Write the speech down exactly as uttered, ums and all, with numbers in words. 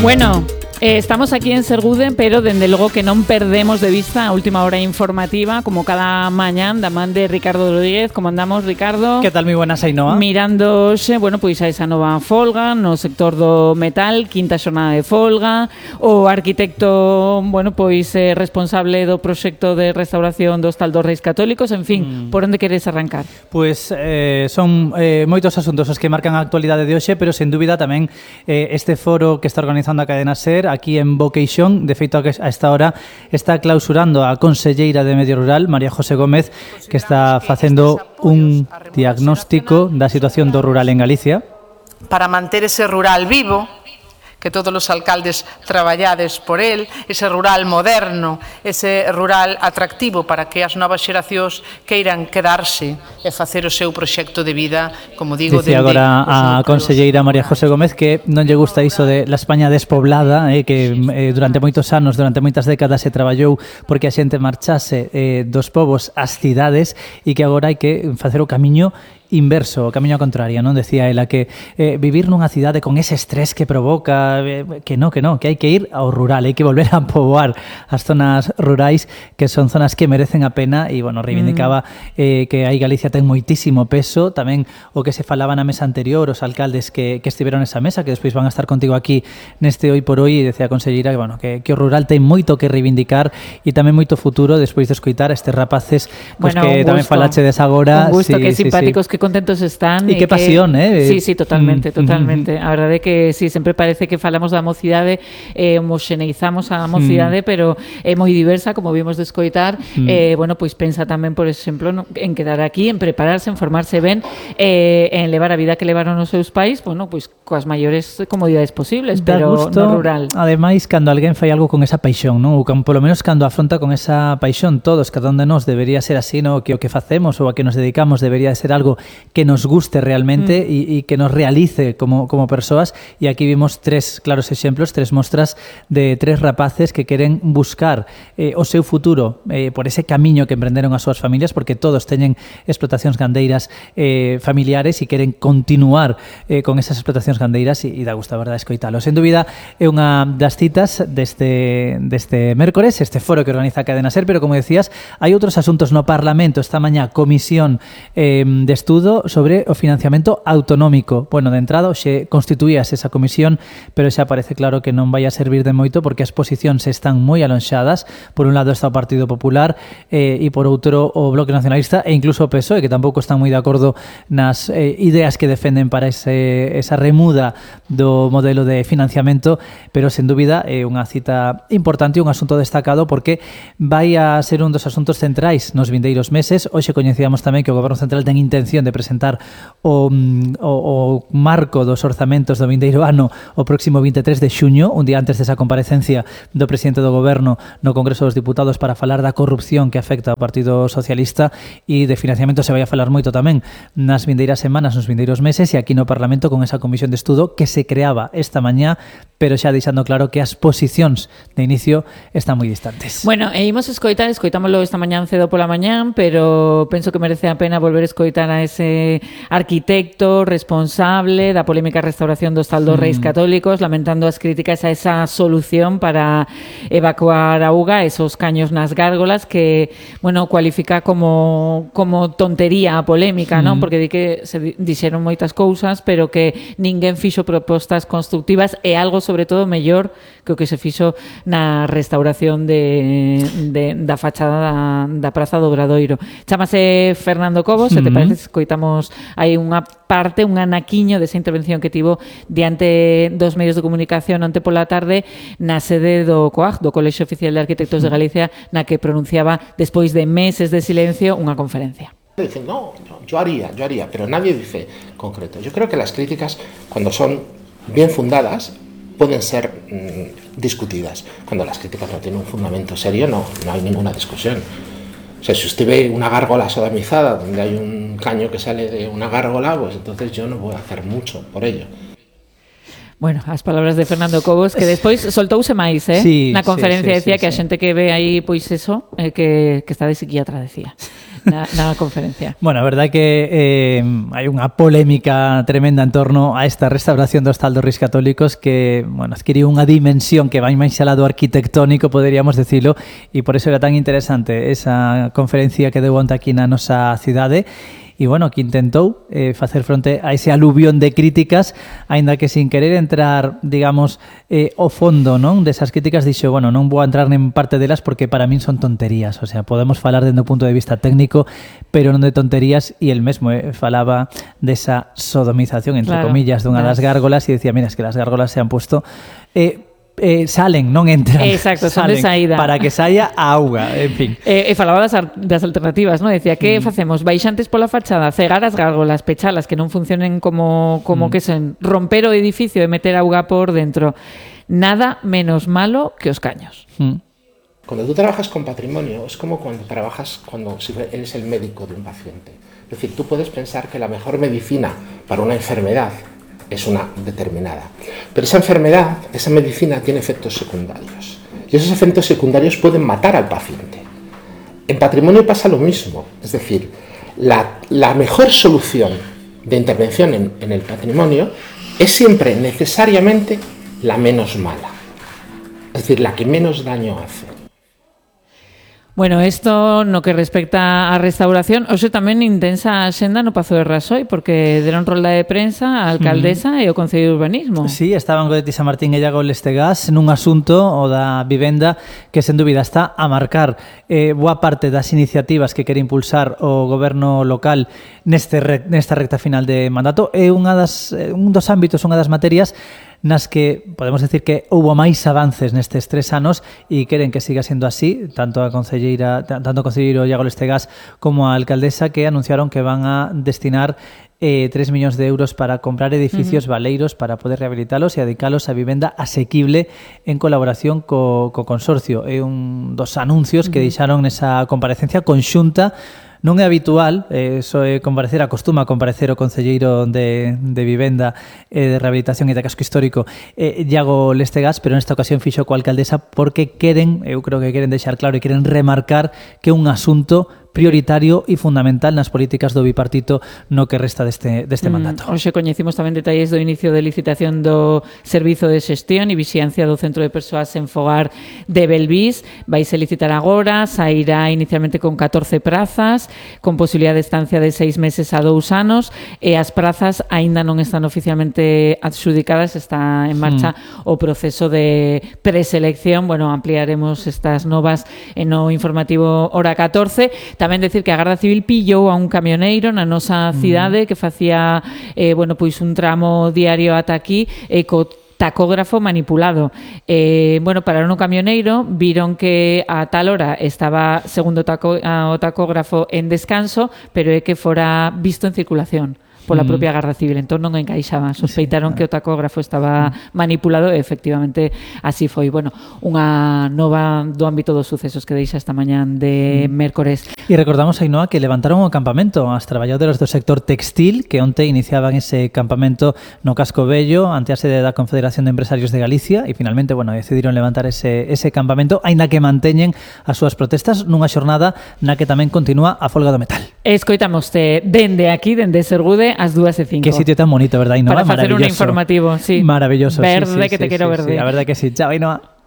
Bueno, eh, estamos aquí en Sergude, pero dende logo que non perdemos de vista a última hora informativa, como cada mañán, da man de Ricardo Rodríguez. Como andamos, Ricardo? Que tal, moi buenas, Ainhoa? Mirándose, bueno, pois a esa nova folga no sector do metal, quinta xornada de folga, o arquitecto, bueno, pois eh, responsable do proxecto de restauración do Hostal dos Reis Católicos, en fin, mm. por onde queres arrancar? Pois eh, son eh, moitos asuntos os que marcan a actualidade de hoxe, pero sen dúbida tamén eh, este foro que está organizando a cadena SER aquí en Boqueixón. De feito, a esta hora está clausurando a conselleira de Medio Rural, María José Gómez, que está facendo un diagnóstico da situación do rural en Galicia. Para manter ese rural vivo, que todos os alcaldes traballades por el, ese rural moderno, ese rural atractivo para que as novas xeracións queiran quedarse e facer o seu proxecto de vida, como digo, dicía agora a conselleira María José Gómez que non lle gusta iso de la España despoblada, eh, que eh, durante moitos anos, durante moitas décadas se traballou porque a xente marchase eh, dos povos ás cidades e que agora hai que facer o camiño inverso, o camiño contrario, non? Decía ela que eh, vivir nunha cidade con ese estrés que provoca, eh, que no, que no, que hai que ir ao rural, hai que volver a poboar as zonas rurais, que son zonas que merecen a pena. E, bueno, reivindicaba eh, que aí Galicia ten moitísimo peso, tamén o que se falaba na mesa anterior, os alcaldes que, que estiveron nesa mesa, que despois van a estar contigo aquí neste Hoy por Hoy, e decía a conselleira que, bueno, que, que o rural ten moito que reivindicar e tamén moito futuro despois de escoitar a estes rapaces, pues, bueno, que tamén falache des agora. Un gusto, sí, que sí, simpáticos, sí. que contentos están. E que pasión, eh? Sí, sí, totalmente, mm. totalmente. A verdade é que sí, sempre parece que falamos da mocidade, eh, homoxeneizamos a mocidade, mm. pero é moi diversa, como vimos de escoitar. Mm. Eh, bueno, pois pensa tamén, por exemplo, no, en quedar aquí, en prepararse, en formarse ben, eh, en levar a vida que levaron os seus pais, bueno, pois coas maiores comodidades posibles, da pero gusto, no rural. Ademais, cando alguén fai algo con esa paixón, non? Ou con, polo menos cando afronta con esa paixón, todos, cada un de nós debería ser así, no? Que o que facemos ou a que nos dedicamos debería ser algo que nos guste realmente e mm. que nos realice como, como persoas. E aquí vimos tres claros exemplos, tres mostras de tres rapaces que queren buscar eh, o seu futuro eh, por ese camiño que emprenderon as súas familias, porque todos teñen explotacións gandeiras eh, familiares e queren continuar eh, con esas explotacións gandeiras, e, e dá gusto, a verdade, escoitalo. Sen dúbida, é unha das citas deste, deste mércores, este foro que organiza a cadena SER, pero, como decías, hai outros asuntos no Parlamento. Esta mañá, comisión eh, de estudo sobre o financiamento autonómico. Bueno, de entrada, xe constituías esa comisión, pero xa parece claro que non vai a servir de moito, porque as posicións están moi alonxadas. Por un lado está o Partido Popular eh, e por outro o Bloque Nacionalista e incluso o P S O E, que tampouco están moi de acordo nas eh, ideas que defenden para ese, esa remuda do modelo de financiamento, pero sen dúbida é unha cita importante e un asunto destacado, porque vai a ser un dos asuntos centrais nos vindeiros meses. Hoxe coñecíamos tamén que o Goberno Central ten intención de presentar o, o, o marco dos orzamentos do vindeiro ano o próximo vinte e tres de xuño, un día antes desa comparecencia do presidente do Goberno no Congreso dos Diputados para falar da corrupción que afecta ao Partido Socialista. E de financiamento se vai a falar moito tamén nas vindeiras semanas, nos vindeiros meses, e aquí no Parlamento con esa comisión de estudo que se creaba esta mañá, pero xa deixando claro que as posicións de inicio están moi distantes. Bueno, e imos escoitar, escoitámoslo esta mañán cedo pola mañán, pero penso que merece a pena volver a escoitar a ese arquitecto responsable da polémica restauración do Hostal dos Reis Católicos, lamentando as críticas a esa solución para evacuar a auga, esos caños nas gárgolas, que, bueno, cualifica como como tontería a polémica, mm. non? Porque di que se dixeron moitas cousas, pero que ninguén fixo propostas constructivas, e algo sobre todo mellor que o que se fixo na restauración de, de da fachada da, da Praza do Obradoiro. Chámase Fernando Cobos, mm-hmm. se te parece, escoitamos hai unha parte, un anaquiño desa intervención que tivo diante dos medios de comunicación onte pola tarde na sede do COAG, do Colexio Oficial de Arquitectos de Galicia, na que pronunciaba, despois de meses de silencio, unha conferencia. Dicen, no, no, yo haría, yo haría, pero nadie dice concreto. Yo creo que las críticas, cuando son bien fundadas, pueden ser mmm, discutidas. Cuando las críticas no tienen un fundamento serio, no, no hay ninguna discusión. O sea, si usted ve una gárgola sodomizada, donde hay un caño que sale de una gárgola, pues entonces yo no voy a hacer mucho por ello. Bueno, as palabras de Fernando Cobos, que despois soltouse máis, eh? Sí, na conferencia, sí, sí, decía sí, que a sí. xente que ve aí, pois eso, eh, que, que está de psiquiatra, decía. na, na conferencia. Bueno, a verdade que eh, hai unha polémica tremenda en torno a esta restauración dos Tal dos Reis Católicos que, bueno, adquiriu unha dimensión que vai máis alá do arquitectónico, poderíamos decirlo, e por eso era tan interesante esa conferencia que deu onte aquí na nosa cidade. E, bueno, que intentou eh, facer fronte a ese aluvión de críticas, aínda que sin querer entrar, digamos, eh, ao fondo, non? Desas críticas dixo, bueno, non vou a entrar en parte delas porque para min son tonterías, o sea, podemos falar dende o punto de vista técnico, pero non de tonterías, e el mesmo eh, falaba desa sodomización, entre claro, comillas, dunha das gárgolas, e decía, mira, es que las gárgolas se han puesto... Eh, Eh, salen, non entran. Exacto, son salen, de saída. Para que saia a auga, en fin. E eh, eh, falaba das, das alternativas, ¿no? Decía, que mm. facemos? Baixantes pola fachada, cegar as gárgolas, pechalas, que non funcionen como, como mm. que sen, romper o edificio e meter auga por dentro. Nada menos malo que os caños. Mm. Cuando tú trabajas con patrimonio, es como cuando trabajas, cuando si eres el médico de un paciente. Es decir, tú puedes pensar que la mejor medicina para una enfermedad es una determinada. Pero esa enfermedad, esa medicina tiene efectos secundarios. Y esos efectos secundarios pueden matar al paciente. En patrimonio pasa lo mismo. Es decir, la, la mejor solución de intervención en, en el patrimonio es siempre necesariamente la menos mala. Es decir, la que menos daño hace. Bueno, isto no que respecta á restauración, hoxe tamén intensa a xenda no Pazo de Raxoi, porque deron rolda de prensa a alcaldesa mm. e o Concello de Urbanismo. Sí, estaban Goretti San Martín e Iago Lestegas nun asunto, o da vivenda, que sen dúbida está a marcar eh, boa parte das iniciativas que quere impulsar o goberno local neste re, nesta recta final de mandato. É unha das, un dos ámbitos, unha das materias nas que podemos decir que houbo máis avances nestes tres anos e queren que siga sendo así, tanto a concelleira, tanto o concelleiro Iago Lestegas como a alcaldesa, que anunciaron que van a destinar eh, tres millóns de euros para comprar edificios uh-huh. baleiros para poder rehabilitalos e dedicalos a vivenda asequible en colaboración co, co consorcio. É un dos anuncios uh-huh. que deixaron nesa comparecencia conxunta. Non é habitual, eh, so é comparecer, acostuma a comparecer o concelleiro de, de Vivenda e eh, de Rehabilitación e de Casco Histórico, eh, Iago Lestegas, pero nesta ocasión fixo coa alcaldesa porque queren, eu creo que queren deixar claro e queren remarcar que é un asunto prioritario e fundamental nas políticas do bipartito no que resta deste, deste mandato. Mm, hoxe coñecimos tamén detalles do inicio de licitación do Servizo de Xestión e Vixiancia do Centro de Persoas en Fogar de Belvís. Vaise licitar agora, sairá inicialmente con catorce prazas, con posibilidade de estancia de seis meses a dous anos, e as prazas aínda non están oficialmente adxudicadas, está en marcha mm. o proceso de preselección. Bueno, ampliaremos estas novas en o informativo hora catorce. Tamén decir que a Garda Civil pillou a un camioneiro na nosa cidade que facía eh, bueno, pois un tramo diario ata aquí e eh, co tacógrafo manipulado. Eh, bueno, pararon o camioneiro, viron que a tal hora estaba, segundo taco, a, o tacógrafo, en descanso, pero é que fora visto en circulación pola propia Garda Civil, entón non encaixaba, sospeitaron sí, que o tacógrafo estaba manipulado e efectivamente así foi. Bueno, unha nova do ámbito dos sucesos que deixa esta mañán de mércores. E recordamos, Ainhoa, que levantaron o campamento as traballadoras do sector textil que onte iniciaban ese campamento no Casco Vello ante a sede da Confederación de Empresarios de Galicia e finalmente, bueno, decidiron levantar ese, ese campamento, aínda que manteñen as súas protestas nunha xornada na que tamén continúa a folga do metal. Escoitamoste dende aquí, dende Sergude, ás dúas e cinco. Qué sitio tan bonito, verdad, Ainhoa? Para facer un informativo, sí. Maravilloso. Verde, sí, sí, que te sí, quero sí, verde. Sí, a verdad que sí. Chao, Ainhoa.